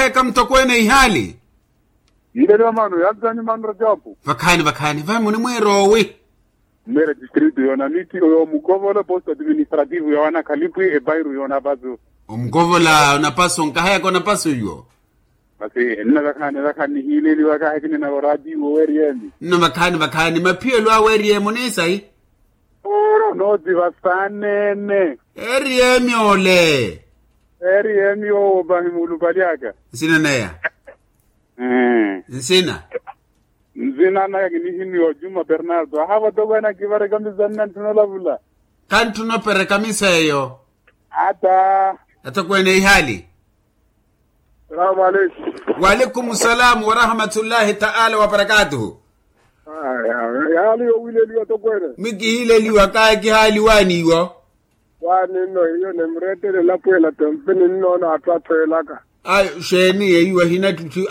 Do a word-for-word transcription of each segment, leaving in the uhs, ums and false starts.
Eka mutokweene ihaali. Yileliwa mano yanzani mano rajapu. Vakhaani vakhaani vayi munimwiira owi? Mmeera distritu yoona mitti oyo omukovola posto administrativu yoona khalipwi epairu yoona pasu. Omukovola onapasu nkahayaka onapasu iwo. Masi nna vakhaani vakhaani nihiileliwa kahakinina oraatiwo weeriyeni. Nno vakhaani vakhaani maphiyelo awe eriye munisayi. Nooti vasaanene. Eriye emyole. Eriye emyoowo pahi muulupalyaka. Nsina neya. Nsina. Nsina naka kinihiniwa juma bernardo ahava tokweena kivarekamisa nna ntthuna olavula. Kantthuna operekamisa eyo. Ata. Atokweene ihaali. Salaamu aleikum. Waalaikum salaamu warahmatullahi taala wabarakatuhu. Yaali yowileliwa tokweene. Mikihiileliwa kaye kihaaliwaani iwo. Waani nno hiyo nimrettele elapweela tempe ninnoona atthu athweelaka. Ayo xeeni eyo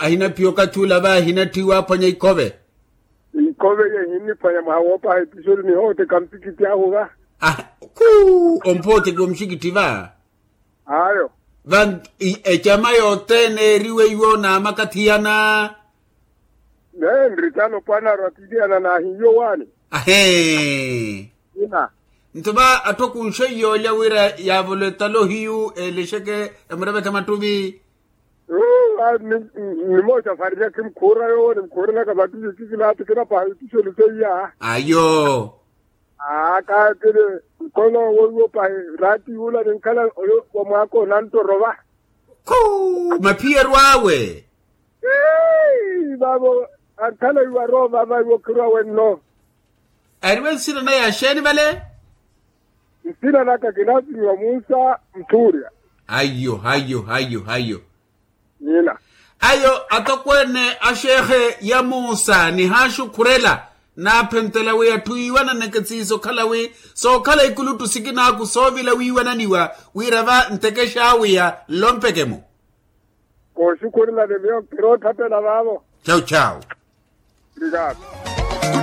ahinaphiya okathi ula va ahinatthiwa aphwanya ikhove. Ikhove iyo ehinniphwanya mwaha woopaha episoni nihooteka mpikitti ahu va. Kuu omphooteki omuxikitthi va. Ayo. Va ecama yothene eeriwe iwo n'amakathiyana. Neenritano pwanaro atiliyana naahiyo waani. Ahee. Nto va atthu akunxe iyoolya wira yaavolo etalo hiyu eelexeke emureveke mattuvi. Nimooxa fariyaki mukhuura yoowo nimukhuurenaka mattuvi kikilaati kinapaha ipisoni seiya. Ayo. Aakaatile nkono woiwo pahi raati yuula ninkhala oyo wa mwaaka onanttoro va. Khuu maphiyeru awe. Vaavo ankhala iwaroo vava iwo khirwa wenno. Ariwe nsina naye axeeni vale? Nsina naka kinasimiwa munsa muthuurya. Ayo ayo ayo ayo. Nyina. Ayo atokweene axeekhe ya muusa nihaaxukhurela. Naaphentela wi atthu iiwananeke siiso okhala wi sookhala ikuluttu sikinaaku soovila wiiwananiwa wira va ntekexaawiya nlompeke-mo. Kooxukhurela ni miyo kirootthapela vaavo. Chau chau. Obrigado.